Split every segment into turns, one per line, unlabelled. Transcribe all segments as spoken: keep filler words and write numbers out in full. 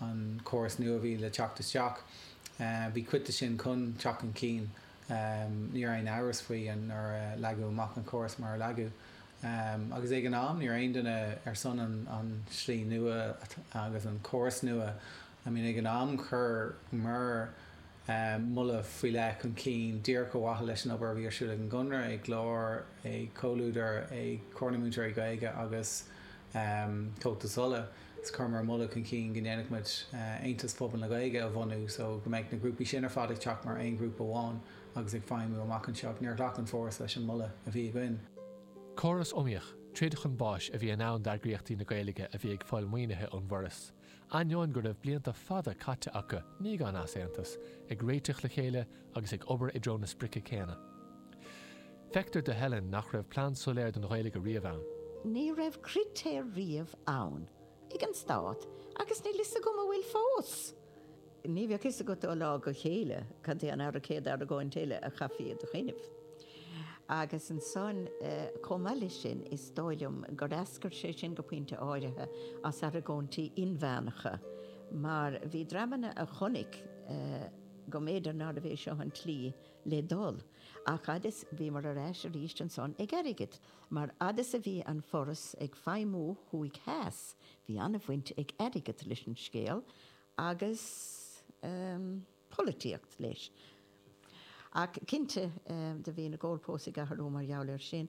an córas nua a bhí le teacht isteach. Bhí cuid de sin chun teacht chun cinn, ní raibh aon amhras faoi nuair a leagadh amach an córas mar a leagadh. Agus ag an am ní raibh aon duine ar son an slí nua agus an córas nua. I mean ag an am chuireamar moladh faoi leith chun cinn díreach ar mhaithe leis an obair a bhí ar siúl ag an gConradh, ag Glór, ag Comhluadar, ag Comhar na Múinteoirí Gaeilge agus Comhaltas Uladh. Is chuireamar moladh chun cinn go ndéanfadh muid Aontas Phobal na Gaeilge a bhunú so go mbeadh na grúpaí sin ar fad ag teacht mar aon ghrúpa amháin agus ag feidhmiú amach anseo. Níor ghlac an Foras leis an moladh a bhí againn.
Córas iomaíoch, troid chun báis a bhí in ann d'eagraíochtaí na Gaeilge a bhí ag fáil maoinithe ón bhForas. Ainneoin go raibh blianta fada caite acu ní gan easaontas, ag réiteach le chéile agus ag obair i dtreo na sprice céanna. Feictear do Helen nach raibh plean soiléir don Ghaeilge riamh ann.
Ní raibh critéir riamh ann ag an stát agus níl fhios agam an bhfuil fós. Ní bheadh fhios agat ó lá go chéile cad é an ara céad argóint eile a chaithfí i do choinnibh. Agus ansan chomh maith leis sin is dóigh liom gur eascair sé sin go pointe áirithe as argóintí inmheánacha, mar bhí dreamanna a chonaic go mb'fhéidir nárbh é seo an tslí le dul. Ach fhad is bhíomar ar ais arís ansan ag airgead. Mar fhad is a bhí an Foras ag feidhmiú thuaidh theas, bhí an-bhaint ag airgead leis an scéal agus polaitíocht leis. Ach cinnte do bhí na goalposts ag athrú mar gheall air sin.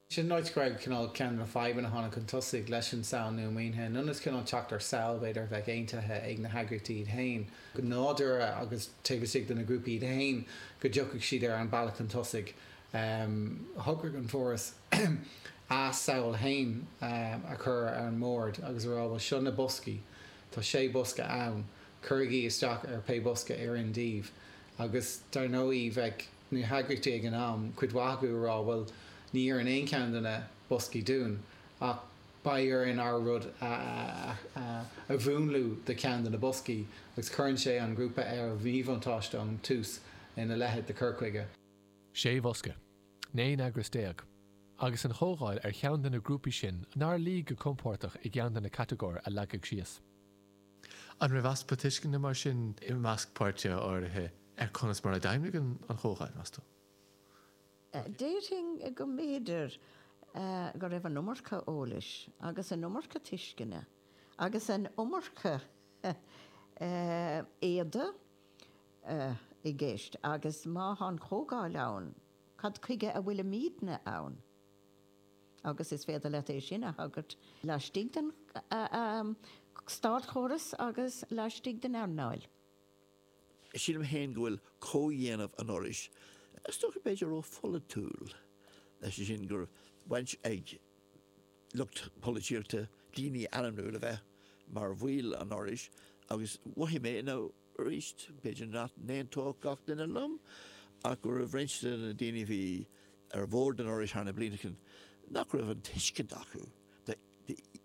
Sin an áit go raibh cineál ceann de na fadhbanna a tháinig chun tosaigh leis an samhail nua maoinithe. In ionad cineál teacht ar samhail b'fhéidir a bheadh aontaithe ag na heagraíochtaí iad féin, go nádúrtha agus taobh istigh de na grúpaí iad féin go dtiocfadh siad ar an bealach chun tosaigh. Shocraigh an Foras a samhail féin a chur ar an mbord agus a rá bhuel seo na boscaí, tá sé bosca ann, cuirigí isteach ar pé bosca a oireann daoibh. Agus dar ndóigh bheadh na heagraíochtaí ag an am, cuid mhaith acu a rá bhuel ní oireann aon cheann de na boscaí dúinn ach beidh orainn ár rud a a mhúnlú do cheann de na boscaí agus cuireann sé an grúpa ar mhíbhuntáiste ón tús ina leithéid de chur chuige.
Sé bhosca, naoi n-eagras déag, agus an Chomhdháil ar cheann de na grúpaí sin nár luigh go compordach i gceann de na catagóir a leagadh síos. An raibh easpa tuisceana mar sin i measc páirtithe áirithe ar conas mar a d'fheidhmigh an Chomhdháil, meas tú?
Déarfainn go mb'fhéidir go raibh an iomarca eolais agus an iomarca tuisceana agus an iomarca éada i gceist agus má tá an Chomhdháil ann, cad chuige a bhfuilimidne ann? Agus is féidir leat é sin a thagairt laistigh den státchóras agus laistigh den earnáil.
Sílim féin go bhfuil comhdhéanamh an Fhorais, is dócha b'fhéidir ró-pholaitiúil, leis sin go raibh baint ag lucht polaitíochta, daoine ainmniúil a bheith mar bhaill an Fhorais agus mhothaigh mé nó arís b'fhéidir nach n-aontódh gach duine liom ach go raibh roinnt de na daoine a bhí ar bhord an Fhorais thar na blianta nach raibh an tuiscint acu de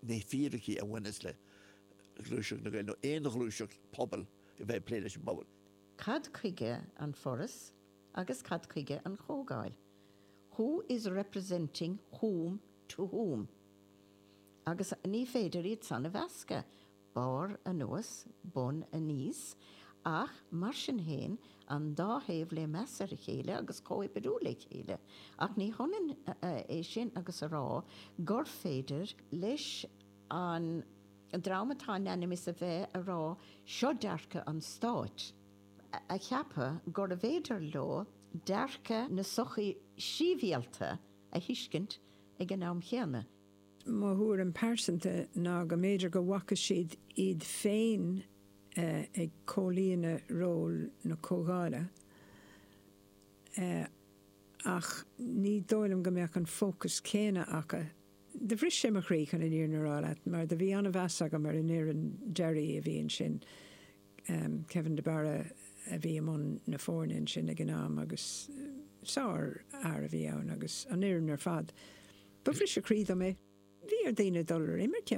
na fíricí a bhaineas le gluaiseacht na Gaeilge nó aon ghluaiseacht pobail a bheith ag plé leis an bpobal.
Cad chuige an Foras agus cad chuige an Chomhdháil? Who is representing whom to whom? Agus ní féidir iad san a mheascadh, barr anuas, bun aníos, ach mar sin féin an dá thaobh le meas ar a chéile agus comhoibriú le chéile. Ach ní hionann é sin agus a rá gur féidir leis an dream atá in ainm is a bheith a rá seo dearcadh an stáit, a cheapadh gurbh fhéidir leo dearcadh na sochaí sibhialta a thuiscint ag an am chéanna.
Mo thuairim pearsanta ná go mb'fhéidir go bhfaca siad iad féin ag comhlíonadh ról na Comhdhála ach ní dóigh liom go mbeadh an fócas céanna acu. Do bhris sé mo chroí chun an fhírinne a rá leat mar do bhí an-mheas agam ar an fhoireann deiridh a bhí ansin, Kevin de Barra a bhí i mbun na foirne ansin ag an am agus sárfhear a bhí ann agus an fhoireann ar fad. Ba bhriseadh croí dom é. Bhí ar daoine dul ar imirce.